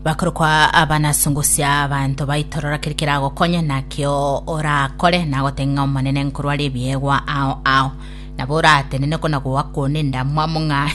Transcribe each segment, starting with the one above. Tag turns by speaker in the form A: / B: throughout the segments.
A: Bakorokwa abanasungusia abanto baitorora keri keragokonye nakio orakore nagotebia ng'a Omonene nkorware ebiegwa ao ao. Nabo oratenene kona goakwa one endamwamu ng'a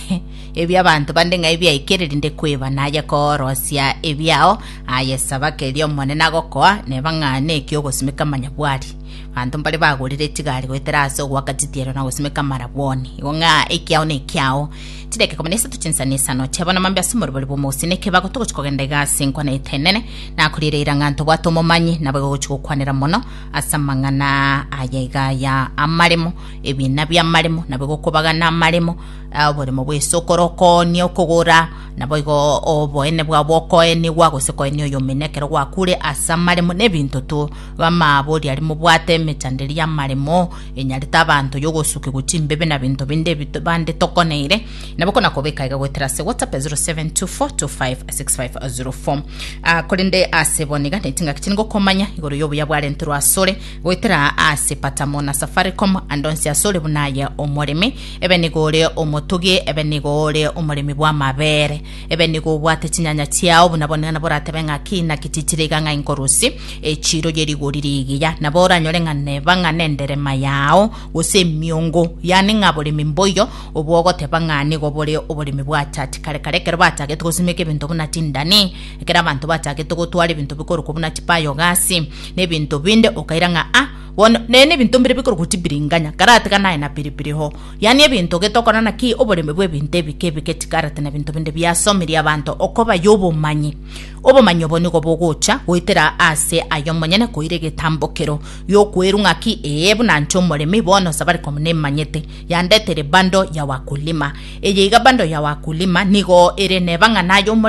A: ebi abanto bande ng'a ebiaikire rinde kweba naye korosia ebiao aye saba keria Omonene agokoa neba ng'a neki ogosimeka amanyabwari. Abanto mbare bagorire chigari goetera ase ogoaka chitiero na gosimeka amarabwoni. Igo ng'a ekiao nekiao. Chidakika ikomi na isato chinsa na isano chia bono mambia ase omorobori bw'omogusii na ekebago togochia kogenda iga ase enkwana yaito enene nakorire eira ng'a ntobwate omomanyi nabo igo gochia gokwanera mono ase amang'ana aya iga ya amaremo ebina bi'amaremo nabo igo okobagana amaremo ah, oboremo bw'esokoro okoonia okogora nabo igo oboene bwao bokoenigwa gose koenia oyomino ekero gwakure ase amaremo na ebinto tu bamabori aria mobwate emechando eria y'amaremo enyarete abanto y'ogosukigwa chimbebe na binto binde ebi bande tokoneire nabo kona kobeka iga goetera ase whatsapp ya 0724256504 Ah, korende ase bono iga nechingaki chiri ngokomanya igoro y'obuya bwarenterwe asore goetera ase patamo na safaricom ande onsi asore buna aye omoremi ebe nigo ore omotugi ebe nigo ore omoremi bw'amabere ebe nigo obwate chinyanya chiao buna bono iga nabo oratebe ng'aki naki chichire iga ng'a inkorusi Echiiro ye rigori rigiya, nabo oranyore ng'a neba ng'a nenderema yao, gose emiongo, yaani ng'a boremi mboiyo obwo ogoteba ng'a nigo bore oboremi bwa church. Kare kare ekero bachagete gosimeka ebinto buna chindani, ekero abanto bachagete gotwara ebinto bikorokwa buna chibiogas, na ebinto binde, okaira ng'a ah, bono nere nebinto mbire bikorokwa chibiringanya, karatiga naye na pilipili hoho. Yaani ebinto getokora naki oboremi bw'ebinto ebike ebike chikarati na binto binde biasomirie abanto okoba y'obomanyi. Obomanyi obo nigo bogocha goetera aase aye omonyene koira egetambokero gi'okwerwa ng'aki, ee, buna inche omoremi, bono Safaricom nemanyete, yandetere bundle ya Wakulima. Eye iga bundle ya Wakulima nigo ere neba ng'a naye omoremi.